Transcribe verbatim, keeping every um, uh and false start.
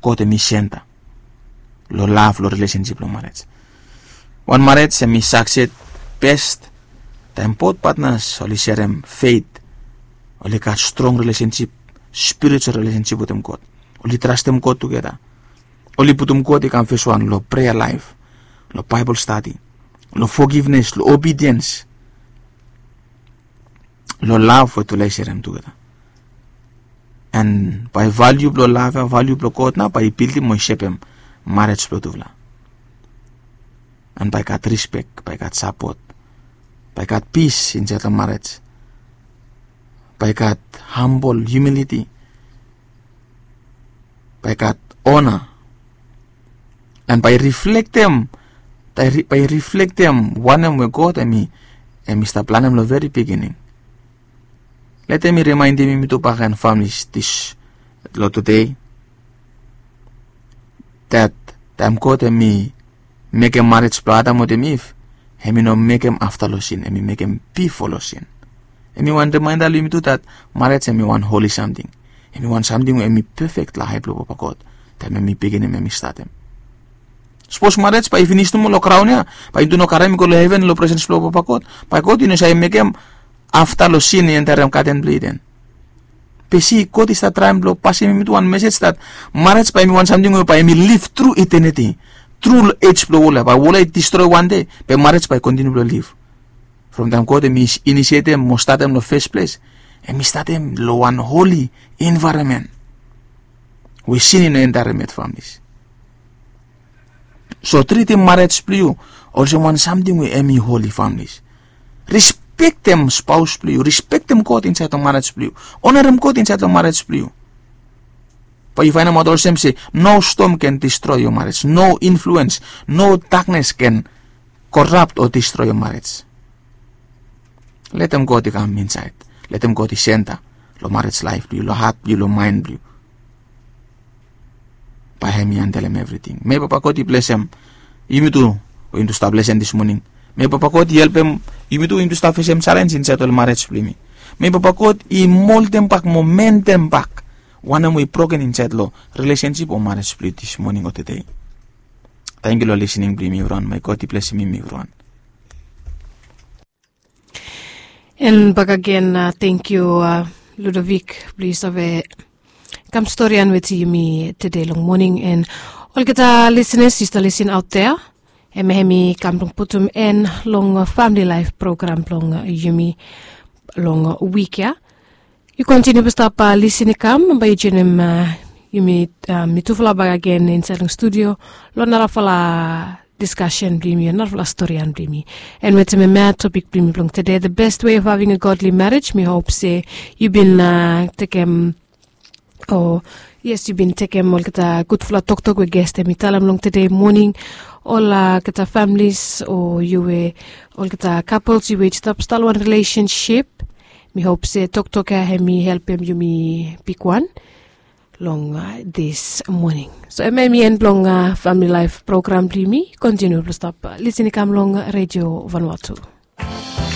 God hemi senta long lav, long rilesensip, long marej. Wan marej hemi sakses bes taem both patnas oli serem fet, oli gat strong rilesensip, spiritual rilesensip wetem God. Oli trastem God tugeta. Oli putum God i kam fes wan long prea laef, long Baebol stadi, long fogivnes, long obidiens, long lav we tufala i serem tugeta. An bae valiu blong lav ya, valiu blong God nao bae i bildim o i sepem marej blong tufala. An bae gat rispek, bae gat sapot, bae gat pis insaed long marej, bae gat hambol, hiumiliti, bae gat ona, an bae riflektem, bae riflektem wanem we God hemi, hemi stap planem long veri bigining. Letem mi rimaendim yumi tu bakegen, famili, long tede, dat taem God hemi mekem marej blong Adam wetem Iv, hemi no mekem afta long sin, hemi mekem bifo long sin. Hemi wan rimaenda long yumi tu dat marej hemi wan holi samting. Hemi wan samting we hemi pefek long ae blong Papa God taem hemi beginim, hemi statem. Sapos marej bae i finis nomo long graon ya, bae yumi tu no karem i go long heven, long presens blong Papa God, bae God i no save mekem afta long sin i enterem gaden blong Iden. Be si, God i stap traem blong pasem yumi tu wan mesej dat marej bae hemi wan samting we bae hemi liv tru iteniti, tru long ej blong wol ya. Bae wol ya i distroe wande, be marej bae i kontiniu blong liv. From taem God hemi inisietem mo statem long fes ples, hemi statem long wan holi envaeronmen we sin i no enterem yet, famili. So tritim marej blong yu olsem wan samting we hemi holi, famili. Rispektem spaos blong yu, rispektem God insaed long marej blong yu, onarem God insaed long marej blong yu. Bae yu faenemaot olsem se no stom ken distroe yo marej, no influens, no daknes ken korap o distroe yo marej. Letem God i kam insaed. Letem God i senta long marej laef blong yu, long hat blong yu, long maen blong yu. Bae hemi handelem evriting. Mei Papa God i blesem yumi tu we yumi tu stap lesen dis moning. Mei Papa God i helpem yumi tu we yumi tu stap fesem jalenj insaed long marej blong yumi. Mei Papa God i moldem bak mo mendem bak wanem we i broken insaed long rilesensip o marej blong yu dis moning o tede. Tangkiu long lisening blong yumi evriwan. Mei God i blesem yumi evriwan. An bakegen, tangkiu Ludovik blong yu save kam storian wetem yumi tede long moning. An olgeta lisenas yu stap lisin aot dea, hemia hemi kam blong putum en long famili laef program blong yumi long wik ya. Yu kontiniu blong stap lisin i kam, bae yu joenem yumi, mitufala bakegen insaed long studio long narafala diskasen blong yumi, narafala storian blong yumi. An wetem hemia topik blong yumi blong tede, the best way of having a godly marriage. Mi hop se yu bin tekem, o yes, yu bin tekem olgeta gudfala toktok we ges hemi talem long tede moning. Olgeta familis o yu we, olgeta couples yu we yu stap stap long wan rilesensip, mi hop se toktok ya hemi helpem yumi bigwan long dis moning. So hemia hemi en blong famili laef program blong yumi. Kontiniu blong stap lisin i kam long Redio Vanuatu.